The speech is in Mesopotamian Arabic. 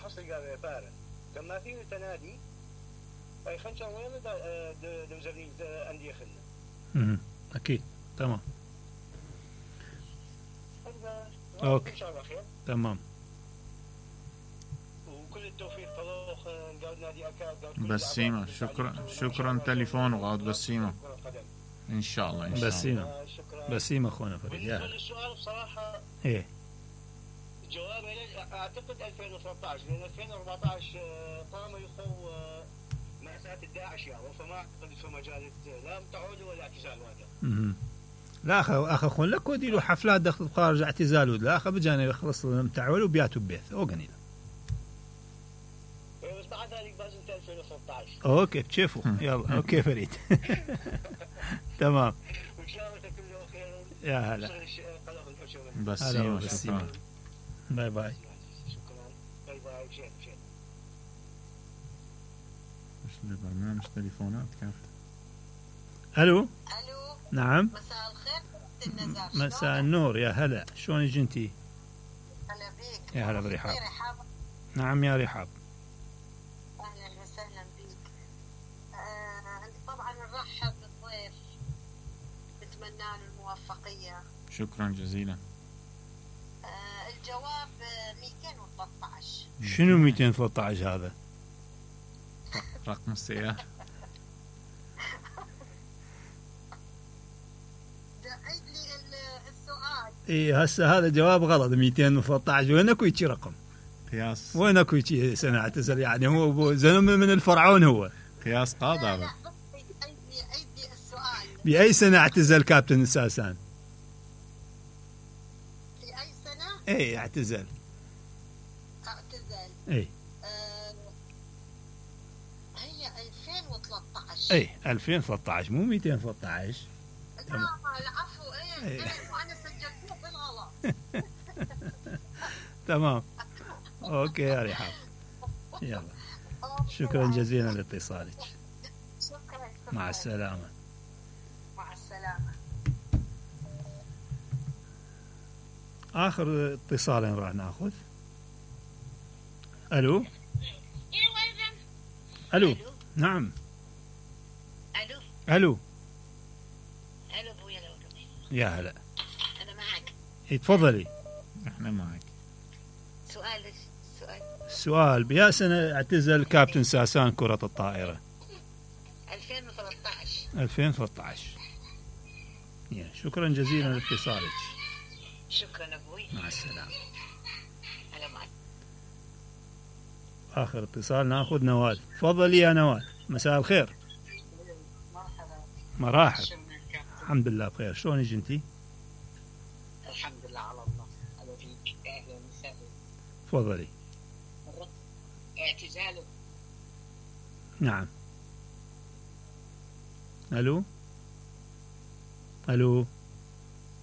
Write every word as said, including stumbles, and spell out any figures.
حصل قال فاره كان ما فيه تنادي اي خنشر وين دوزرين انديه خلنا. اكيد تمام. اوكي ان شاء الله خير. تمام. وكل التوفيق طلوخ نقعد نادي اكاد بسيمة. شكرا شكرا تليفون وغاد بسيمة ان شاء الله. ان شاء بسيمة الله. بسيمة اخونا فريد. بالنسبه للسؤال بصراحه ايه جوابه اعتقد ألفين وثلاثة عشر لان ألفين وأربعة عشر قاموا يخو مأساة الداعش يعني فما اعتقد في مجال لا تعود ولا اعتزال هذا. لا اخ اخ اخونا لك ودي له حفلات دخل خارج اعتزال لا اخ بجاني يخلص متعول وبياتوا ببيت او قنيله. ايه بس بعد ذلك لازم ألفين وثلاثة عشر. اوكي بتشوفوا يلا اوكي فريد. تمام. وان شاء الله كله خير. يا هلا. بسيمة. شكرا. باي باي. شكرا. باي باي. شين شين. ايش البرنامج تليفونات كانت. الو. الو. نعم. مساء الخير النزار. مساء النور يا هلا شلونك انتي؟ هلا بيك. يا هلا برحاب. نعم يا رحاب. اهلا وسهلا بيك. آه طبعا نرحب بالضيف نتمنى له الموفقيه. شكرا جزيلا. آه الجواب مئتين وثلاثة عشر. شنو مئتين وثلاثة عشر هذا؟ رقم السيارة. عيد لي السؤال. اي هسه هذا جواب غلط. مئتين وثلاثة عشر وين اكو يجي رقم؟ قياس. وين اكو يجي سنه اعتزل يعني هو زلمه من الفرعون هو. قياس قاضي هذا. عيد لي عيد لي السؤال. باي سنه اعتزل كابتن ساسان؟ في اي سنه؟ اي اعتزل. اعتزل. اي. آه هي ألفين وثلاثة عشر. اي ألفين وثلاثة عشر مو مئتين وثلاثة عشر. لا العفو. ايه ايه وانا سجلته بالغلط. تمام. اوكي يا رحاب. يلا شكرا جزيلا لاتصالك. شكرا. مع السلامه. مع السلامه. اخر اتصال راح ناخذ. الو. الو. نعم. الو. الو. الو ابويا لو يا هلا. انا معك. تفضلي. احنا معك. سؤال سؤال السؤال بيا سنة اعتزل كابتن ساسان كرة الطائرة؟ ألفين وثلاثة عشر. ألفين وثلاثة عشر. شكرا جزيلا لاتصالك. شكرا ابوي. مع السلامة. انا معك. آخر اتصال ناخذ نوال. تفضلي يا نوال. مساء الخير. مرحبا. مراحب. الحمد لله بخير. شلونك انتي؟ الحمد لله على الله. على فيك. اهلا وسهلا. تفضلي. اعتزاله. نعم. الو. الو.